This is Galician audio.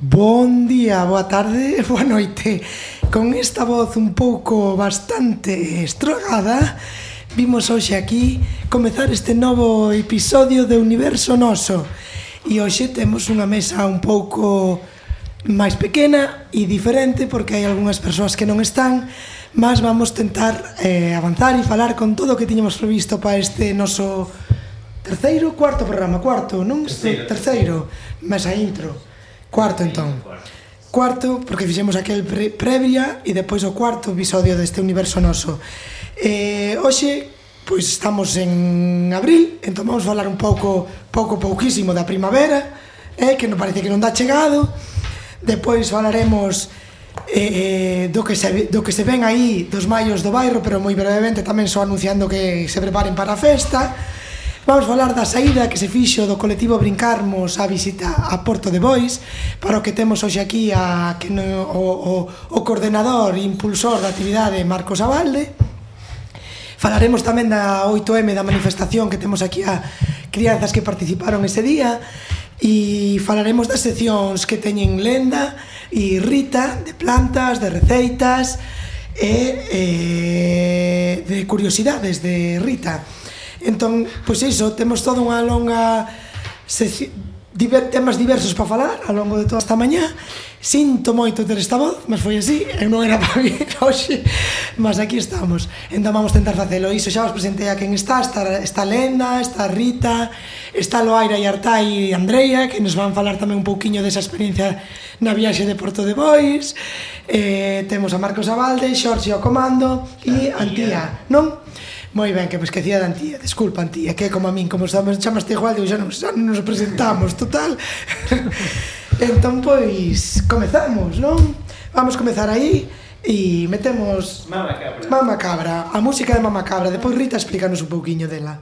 Bon día, boa tarde, boa noite. Con esta voz un pouco bastante estrogada, vimos hoxe aquí comezar este novo episodio de Universo Noso. E hoxe temos unha mesa un pouco máis pequena e diferente porque hai algunhas persoas que non están, mas vamos tentar avanzar e falar con todo o que tiñamos previsto para este noso cuarto programa, non? Terceiro, mesa intro. Cuarto, entón. Cuarto, porque fixemos aquel previa e depois o cuarto episodio deste Universo Noso. Hoxe, pois estamos en abril, entón vamos falar un pouquísimo da primavera, que non parece que non dá chegado. Depois falaremos do que se ven aí dos maios do bairro, pero moi brevemente tamén só anunciando que se preparen para a festa. Vamos falar da saída que se fixo do colectivo Brincarmos a visita a Porto de Bois, para o que temos hoxe aquí o coordenador e impulsor da actividade Marcos Abalde. Falaremos tamén da 8M, da manifestación que temos aquí a crianzas que participaron ese día, e falaremos das seccións que teñen Lenda e Rita, de plantas, de receitas e de curiosidades de Rita. Entón, pois iso, temos toda unha longa temas diversos para falar ao longo de toda esta mañá. Sinto moito ter esta voz, mas foi así, non era para vir hoxe, mas aquí estamos. Entón vamos tentar facelo. Iso xa vos presentei a quen está Lenda, está Rita, está Loaira e Artai e Andreia, que nos van falar tamén un pouquiño desa experiencia na viaxe de Porto de Bois. Temos a Marcos Abalde, Xorxe ao comando e Antía, non? Moi ben, que me esquecía da Antía. Desculpa, Antía, que é como a min, como chamaste igual, digo, xa non nos presentamos, total. Entón, pois, comezamos, non? Vamos comezar aí e metemos Mama Cabra. Mama Cabra, a música de Mama Cabra. Depois Rita explícanos un pouquiño dela.